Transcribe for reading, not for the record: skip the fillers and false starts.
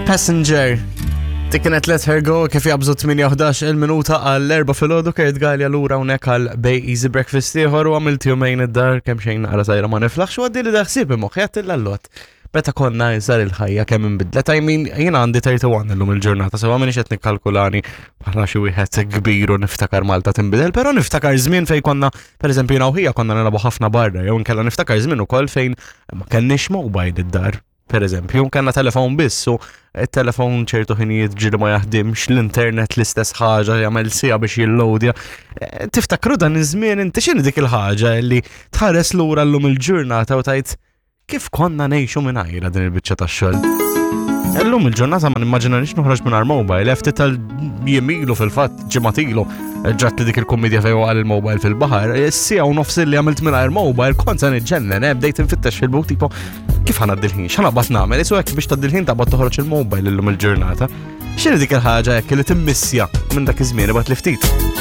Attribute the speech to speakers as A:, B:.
A: Passenger. Dik kienet Let Her Go kif jabżu 8-11 il-minuta għall-erba filgħodu Kurt Gallia lura hawnhekk għal Bay Easy Breakfast ieħor u għamilt jumejn id-dar kemm xejn naqra sajra ma niflaħx u għaddi li daħsib moħħi għattilla l-lot. Meta konna iżgħar il-ħajja kemm inbidlet, I mean, jiena għandi 31 illum il-ġurnata, sewa minix qed nikkalkulani bħala xi wieħed kbir u niftakar Malta tinbidel, però niftakar żmien fejn konna, pereżempju jiena u ħija konna nilagħbu ħafna barra, jew inkella niftakar żmien ukoll fejn ma kenniex mobile id-dar. Per eżempju, kellna telefon biss u il-telefon ċertu ħinijiet ġili ma jaħdimx, l-internet l-istess ħaġa jagħmel sija biex jillowdja. Eh, tiftakru dan iż-żmien inti x'inhi dik il-ħaġa li tħares lura llum il-ġurnata u tajt kif konna ngħixu mingħajra din il-biċċa tax-xogħol. Illum il-ġurnata ma nimmaġinanix noħroġ mingħajr mobile, ftit tal-jemilu fil-fatt ġimgħatilu ġrat li dik il-kommedja fejn waqal il-mobile fil-baħar, sija u nofs li għamilt mingħajr mobile kont se niġġennen, eh, bdejt infittex fil-buk tipo kif ħana d-dilħin, x'ħana bat nagħmel, isu hekk biex tad-dilħin taqbad toħroġ il-mobile illum il-ġurnata. X'inhi dik il-ħaġa hekk li timmissja minn dak iż-żmien ibgħat li ftit.